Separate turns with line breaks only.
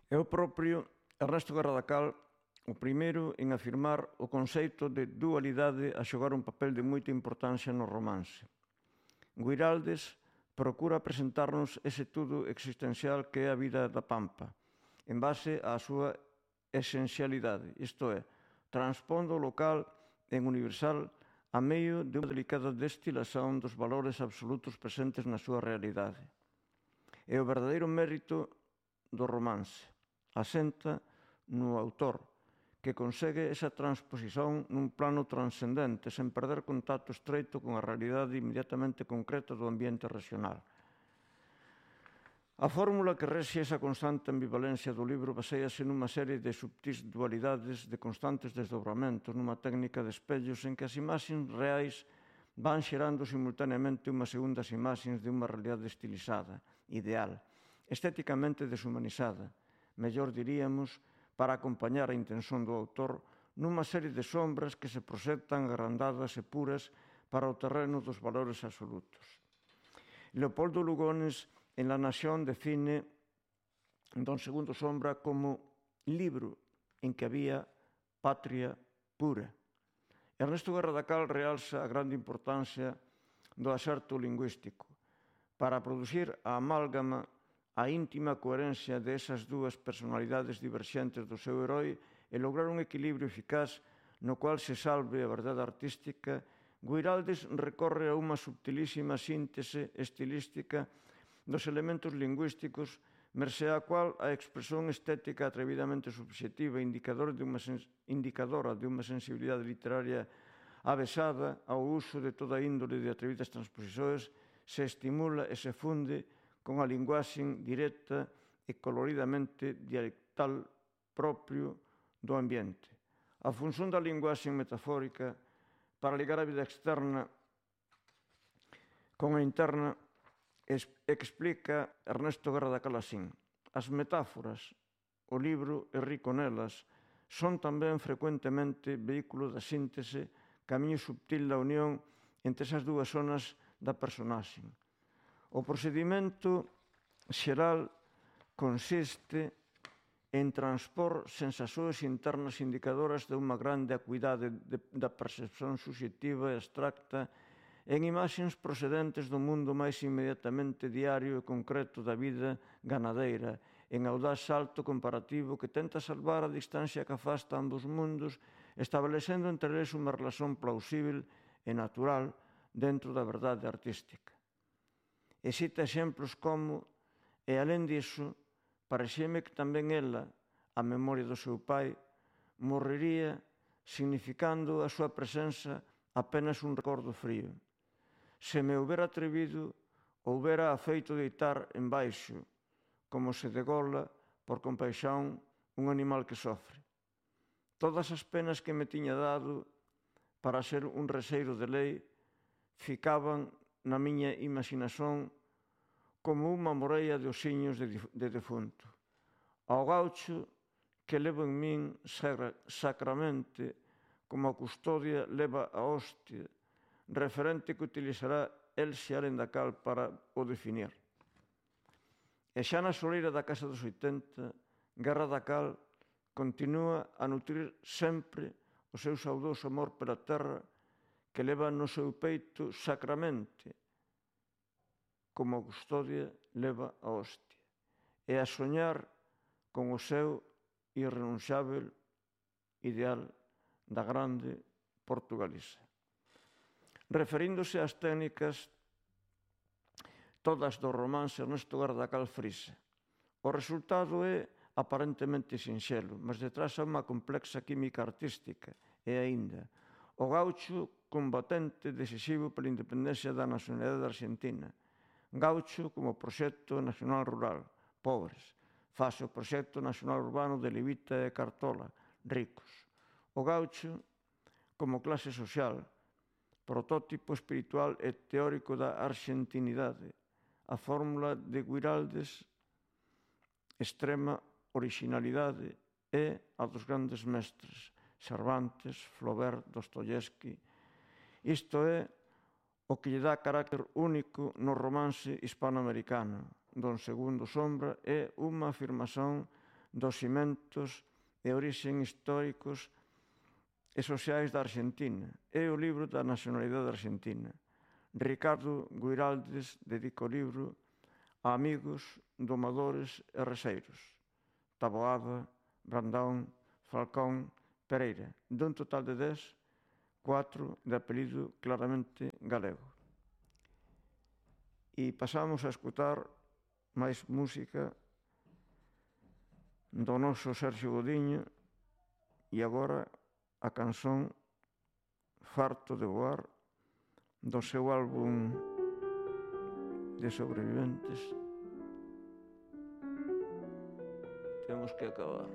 É o propio Ernesto Garradacal o primeiro en afirmar o conceito de dualidade a xogar un papel de moita importancia no romance. Guiraldes procura presentarnos ese todo existencial que é a vida da Pampa, en base á súa esencialidade, isto é, transpondo o local en universal a medio de unha delicada destilación dos valores absolutos presentes na súa realidade. É o verdadeiro mérito do romance. Asenta no autor, que consegue esa transposición nun plano transcendente, sen perder contacto estreito con a realidade inmediatamente concreta do ambiente regional. A fórmula que rexe esa constante ambivalencia do libro baséase nunha serie de subtís dualidades, de constantes desdobramentos, nunha técnica de espellos en que as imaxes reais van xerando simultaneamente unhas segundas imaxes de unha realidade estilizada, ideal, estéticamente deshumanizada, mellor diríamos, para acompañar a intención do autor nunha serie de sombras que se proxectan agrandadas e puras para o terreno dos valores absolutos. Leopoldo Lugones, en La Nación, define Don Segundo Sombra como libro en que había patria pura. Ernesto Garradacal realza a grande importancia do acerto lingüístico para producir a amálgama, a íntima coherencia desas dúas personalidades diverxentes do seu heroi e lograr un equilibrio eficaz no cual se salve a verdade artística. Guiraldes recorre a unha subtilísima síntese estilística dos elementos lingüísticos, mercé a cual a expresión estética atrevidamente subxectiva indicadora de unha sensibilidade literaria avesada ao uso de toda índole de atrevidas transposicións se estimula e se funde con a linguaxe directa e coloridamente dialectal propio do ambiente. A función da linguaxe metafórica para ligar a vida externa con a interna explica Ernesto Garradacal así: as metáforas, o libro é rico nelas, son tamén frecuentemente vehículo da síntese, camiño subtil da unión entre esas dúas zonas da personaxe. O procedimento xeral consiste en transpor sensacións internas indicadoras de unha grande acuidade da percepción subxectiva e abstracta en imaxes procedentes do mundo máis inmediatamente diario e concreto da vida ganadeira, en audaz salto comparativo que tenta salvar a distancia que afasta ambos mundos, establecendo entre eles unha relación plausível e natural dentro da verdade artística. E cita exemplos como, e alén disso, pareceme que tamén ela, a memoria do seu pai, morrería significando a súa presenza apenas un recordo frío. Se me houbera atrevido, houbera afeito deitar embaixo, como se degola por compaixón un animal que sofre. Todas as penas que me tiña dado para ser un reseiro de lei ficaban na miña imaginación como unha moreia de osiños de defunto. Ao gaucho que levo en min sacramente, como a custodia leva a hostia, referente que utilizará el se alén da cal para o definir. E xa na soleira da casa dos 80, Garradacal continúa a nutrir sempre o seu saudoso amor pela terra que leva no seu peito sacramente, como a custodia leva a hostia, e a soñar con o seu irrenunciável ideal da grande Portugalisa. Referíndose ás técnicas todas do romance, Ernesto Garradacal frisa: o resultado é aparentemente sinxelo, mas detrás há unha complexa química artística, e aínda o gaucho combatente decisivo pola independencia da nacionalidade argentina, gaucho como proxecto nacional rural, pobres, fase o proxecto nacional urbano de Levita e Cartola, ricos. O gaucho como clase social, protótipo espiritual e teórico da argentinidade, a fórmula de Guiraldes, extrema originalidade, é a dos grandes mestres, Cervantes, Flaubert, Dostoyevsky. Isto é o que lle dá carácter único no romance hispanoamericano. Don Segundo Sombra é unha afirmación dos cimentos e orixen históricos e sociais da Argentina. É o libro da nacionalidade argentina. Ricardo Guiraldes dedica o libro a amigos, domadores e reseiros. Taboada, Brandão, Falcón, Pereira. Dun total de 10, 4 de apelido claramente galego. E pasamos a escutar máis música do noso Sergio Godiño e agora a canción Farto de voar do seu álbum de sobreviventes. Temos que acabar.